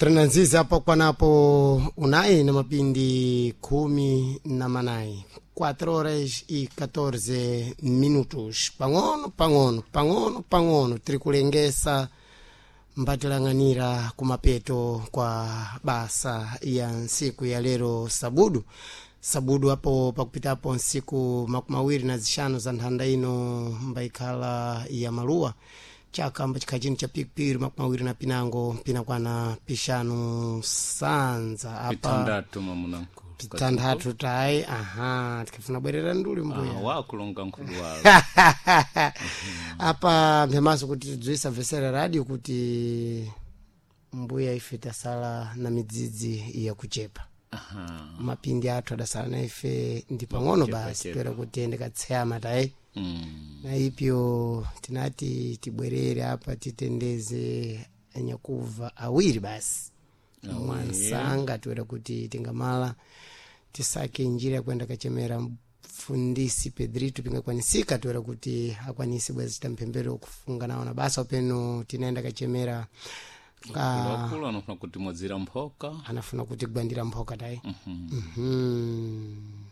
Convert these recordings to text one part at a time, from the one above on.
Trananziza apo kwanapo unai na mapindi 18, 4 horas e 14 minutos. Pang'ono pang'ono pang'ono pang'ono tiri kulengesa mbatilang'anira kumapeto kwa basa ya nsiku ya lero sabudu sabudu apo pakupitapo nsiku 25 za nthanda ino mbaikhala ya maluwa chaka mbachikhala chino cha pikipiri 25 pinakwana pixanu sanza apa Pitandatu, mamuna nkulu. Pitanthatu tayi, aha, tikafuna bwerera nduli mbuya. Ah, wakulonga nkulu walo. Apa mphemaso kuti tidziwisa vesera radio kuti mbuya ife tasala na midzidzi yakuchepa. Aha. Mapindi athu adasala na ife ndi pang'ono Chepa, basi. chepa. Pera kuti ndikatseyama tayi. Na ipyo tinati tibwerere apa titendeze anyakuva awiri basi mwansanga tiwera kuti tingamala tisake njira yakuenda kachemera mfundisi Pedrito pingakwanisika tiwera kuti akwanise bwezi chita mphembero kufunga nawo na basa upeno tinaenda kachemera ka. Wakulu anafuna kuti mwadzira mphoka. Anafuna kuti gwandira mphoka tayi.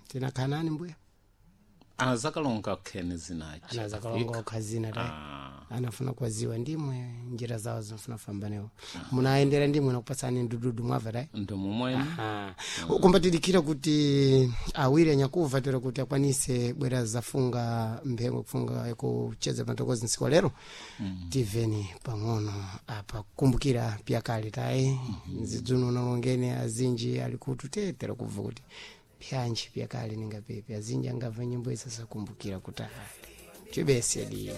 Tinakhala nani mbuya? Azakalonga khene zinachi. Anazakalonga okhazina tayi. Ah. Anafuna kwaziwa ndimwe njira zawo zinafuna fambanewo munaendera ndimwe nakupatsani ndududu mwabva tayi. Ndomumwene. Aha. Kumbatidikira kuti awiri anyakuva tera kuti akwanise bwera zafunga mphengo kufunga kucheza patokozi nsiku wa lero. Tiveni pang'ono apa kukumbukira pyakale tayi nzidzuno nalongene azinji ali kutu tetera kubva kuti pyanji pyakale ningapepe azinji angabva nyimbo isasakumbukira kuti ali chibese di.